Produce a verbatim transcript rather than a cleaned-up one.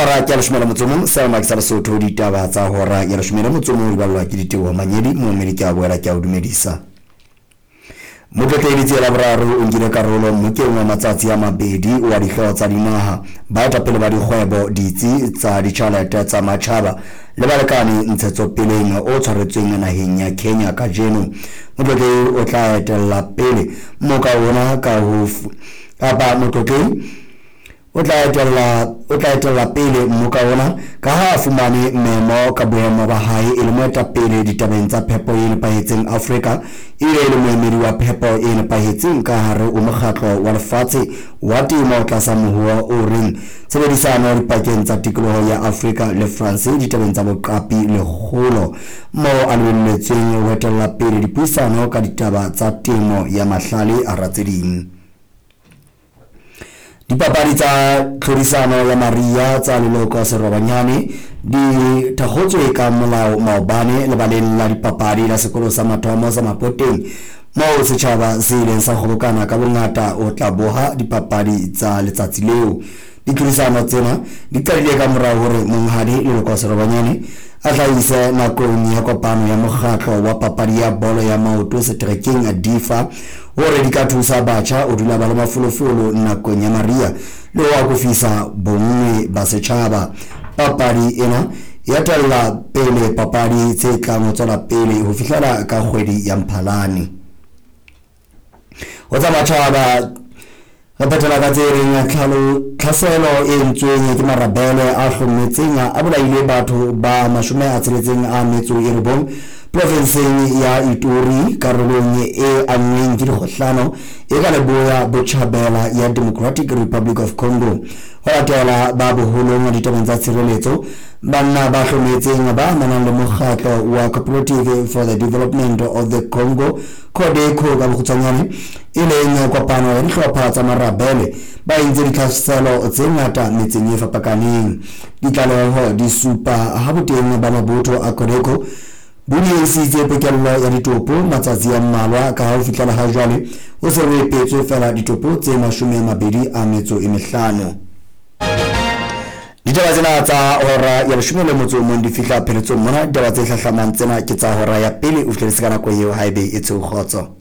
Kotara ke ya leshome le motso o mong, Selmax sa Lesotho, ditaba tsa hora ya leshome le motso o mong di ballwa ke Diteboho Manyedi. Momedi ke a boela ke a o dumedisa. Motlotlehi Letsie Laboraro o nkile karolo mmokeng wa matsatsi a mabedi wa dihlooho tsa dinaha, baetapele ba dikgwebo, ditsi tsa ditjhelete tsa matjhaba le balekane ntshetsopeleng o tshwaretsweng naheng ya Kenya kajeno. Motlotlehi o tla etella pele mmoka ona ka ho kapa motlotlehi o tla etella o tla etella pele mmoka ona ka ha a fumane memo ka boemo ba hae e le moetapele ditabeng tsa phepo e nepahetseng Afrika, ebile e le moemedi wa phepo e nepahetseng ka hare ho mokgatlo wa lefatshe wa temo tlasa mohoa o reng tshebedisano dipakeng tsa tikoloho ya Afrika le France ditabeng tsa boqapi le kgolo, moo a lebelletsweng ho etella pele dipuisano ka ditaba tsa temo ya mahlale hara tse ding. Dipapadi tsa tlhodisano ya Maria tsa leloko Serobanyane di thakgotswe ka molao maobane lebaleng la dipapadi la sekolo sa mathomo sa Mapoteng, moo setjhaba se ileng sa kgobokana ka bongata ho tla boha dipapadi tsa letsatsi leo. Ditlhodisano tsena di qadile ka morao hore monghadi Leloko Serobanyane a hlahise nakong ya kopano ya mokgatlo wa papadi ya bolo ya maoto seterekeng D I F A hore di ka thusa batjha ho dula ba le mafolofolo nakong ya mariha le ho akofisa bonngwe ba setjhaba. Papadi ena e etella pele papadi tse tlang ho tswela pele ho fihlela ka kgwedi ya Mphalane. Ho tsa matjhaba re phethela ka tse reng tlhaselo e entsweng ke marabele a hlometseng a bolaile batho ba mashome a tsheletseng a metso e robong provinseng ya Ituri, karolong e anngweng ke dikgohlano e ka leboya botjhabela ya Democratic Republic of Congo. Ho latela ba boholong ditabeng tsa tshireletso, banna ba hlometseng ba amanang le mokgatlo wa Cooperative for the Development of the Congo, CODECO ka bokgutshwanyane, e leng kopano ya dihlopha tsa marabele, ba entse ditlhaselo tse ngata metseng e fapakaneng. Ditlaleho di supa ha boteng ba mabotho a CODECO bo diehisitse pokello ya ditopo matsatsi a mmalwa, ka ha ho fihlela ha jwale ho se ho epetswe feela ditopo tse mashome a mabedi a metso e mehlano. Ditaba tsena tsa hora ya leshome le motso o mong di fihla pheletsong mona. Ditaba tse hlahlamang tsena ke tsa hora ya pele. O fihleletse ka nako eo haebe e tsheo kgotso.